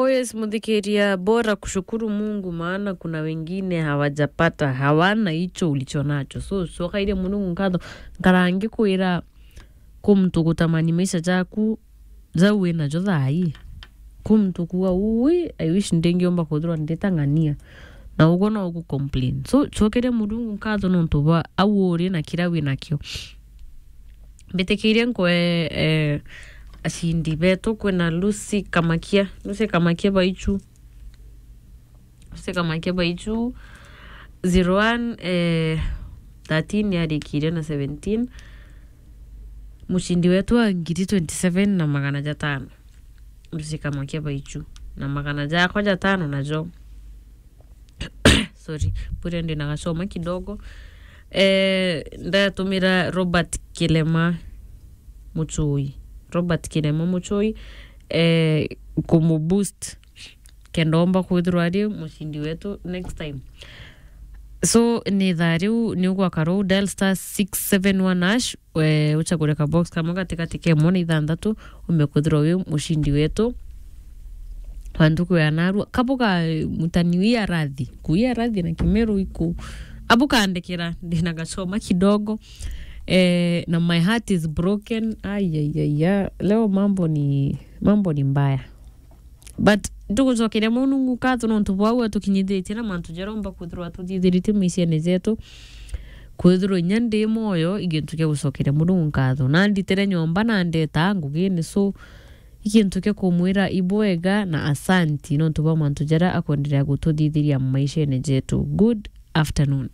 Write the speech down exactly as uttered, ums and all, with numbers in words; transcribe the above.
Oh yes, muthikiria, bora kushukuru Mungu, maana kuna wengine hawajapata, hawana hicho ulicho nacho. So, cokairia Murungu nkatho, nkara ngikwira ku muntu gutamani maisha jaku, jau wina jo thaa ii. Ku muntu kuuga, "Ui, I wish ndingiumba kwithirwa nditang'ania." Na uguo no ugu complain. So, cokeria Murungu nkatho nontu bwa au uri na kiria wi nakio. Mbitikirie nkwe, eh, acindi betu, kwina Lucy Kamakia. Lucy Kamakia Baichu. Lucy Kamakia Baichu, zero one, eh, thirteen yarikirie na seventeen. Mucindi wetu wa ngiri twenty-seven na magana jatano. Lucy Kamakia Baichu. Na magana jakwa jatano najo. Sorry, bure ndina gacoma kidogo. Eh, ndatumira Robert Kilema Muchui. Robert Kilema Muchui, eh, kumuboost kenda omba kwithirwa ari mucindi wetu next time. So, ni thaa riu ni ugwaka ruu, dial star six seven one hash, we uchagure ka box kamwe gatigati ka imwe na ithanthatu, umbe kwithirwa wi mucindi wetu wa ntuku ya narua. Kabuga, eh, mutani wi arathi, kuia arathi na Kimeru iku. Abu kandikira, ndina gacoma kidogo. Eh, na my heart is broken. Ai, ai, ai, ya. Leo mambo ni, mambo ni mbaya. But tugucokeria Murungu nkatho nontu bwa uu atukinyithitie na mantu jaria omba kwithirwa atuthithiritie maishene jetu. Kwithirwa inya ndi moyo, i gintu kia gucokeria Murungu nkatho. Na nditire nyomba na ndeta ngugine, so i gintu kia kumwira ibwega na asanti nontu bwa mantu jaria akwenderea gututhithiria maishene jetu. Good afternoon.